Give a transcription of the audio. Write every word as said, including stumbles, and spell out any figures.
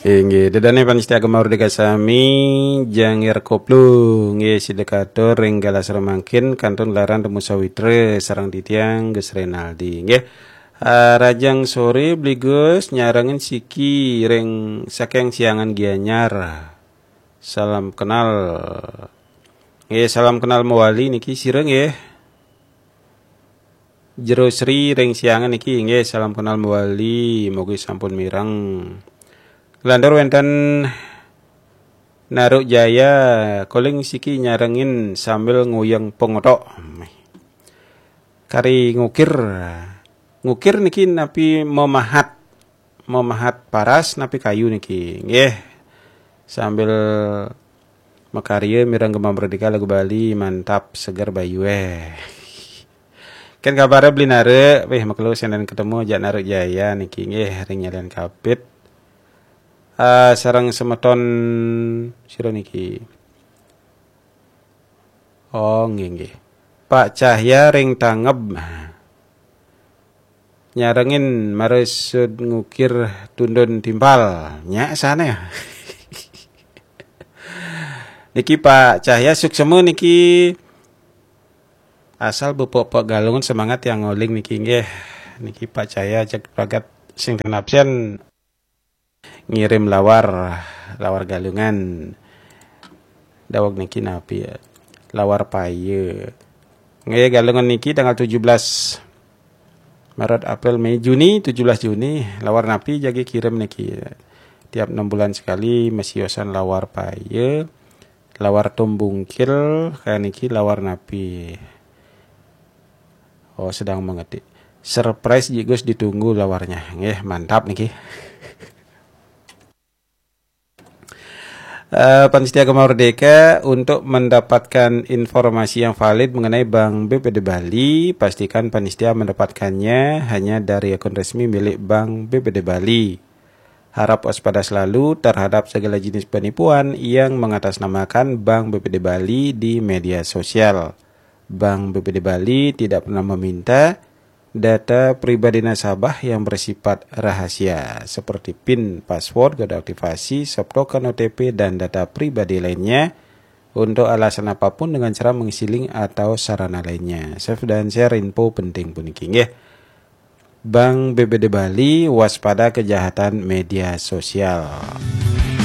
Inggih, ida dané pamiarsa Gema Merdeka sami, Jangir Koplo, inggih, sida katur ring galah samangkin kantun larang temu sawitra sareng titiang Gus Renaldi, inggih. Ah, rahajeng soré Bli Gus, nyarengin siki ring saking Siangan Gianyar. Salam kenal. Inggih, salam kenal mawali niki sira nggih. Jero Sri ring Siangan niki inggih salam kenal mawali, mugi sampun mireng. Nglantur wénten Naruk Jaya, koling siki nyarengin sambil nguyeng pangotok. Kari ngukir. Ngukir niki napi memahat, memahat paras napi kayu niki. Nggih. Sambil makarya mireng Gema Merdeka lagu Bali, mantap seger bayuné. Kan kabaré Bli Naruk, wéh makelo senen ketemu jak Naruk Jaya niki nggih ring Nyalian Kapit. Ah, sareng semeton sira niki. Oh, nggih nggih. Pak Cahya ring Tangeb. Nyarengin maresud ngukir tundun timpal. Nyak sané. Niki Pak Cahya suksema niki asal bepok-pok Galungan semangat yang ngoling niki nggih. Niki Pak Cahya cek pragat sing ten absen ngirim lawar, lawar Galungan. Daweg niki napi ya? Lawar paya. Nggih, Galungan niki tanggal tujuh belas Maret, April, Mei, Juni, tujuh belas Juni, lawar napi jagi kirim niki. Tiap enam bulan sekali masiosan lawar paya, lawar tumbungkil, kaya niki lawar napi. Oh, sedang mengetik. Surprise Ji Gus, ditunggu lawarnya. Nggih, mantap niki. Eh, pamiarsa Gema Merdeka, untuk mendapatkan informasi yang valid mengenai Bank B P D Bali, pastikan pamiarsa mendapatkannya hanya dari akun resmi milik Bank B P D Bali. Harap waspada selalu terhadap segala jenis penipuan yang mengatasnamakan Bank B P D Bali di media sosial. Bank B P D Bali tidak pernah meminta data pribadi nasabah yang bersifat rahasia, seperti pin, password, kode aktivasi, soft token, O T P, dan data pribadi lainnya untuk alasan apapun dengan cara mengisi link atau sarana lainnya. Save dan share info penting puniki nggih. Bank B P D Bali, waspada kejahatan media sosial.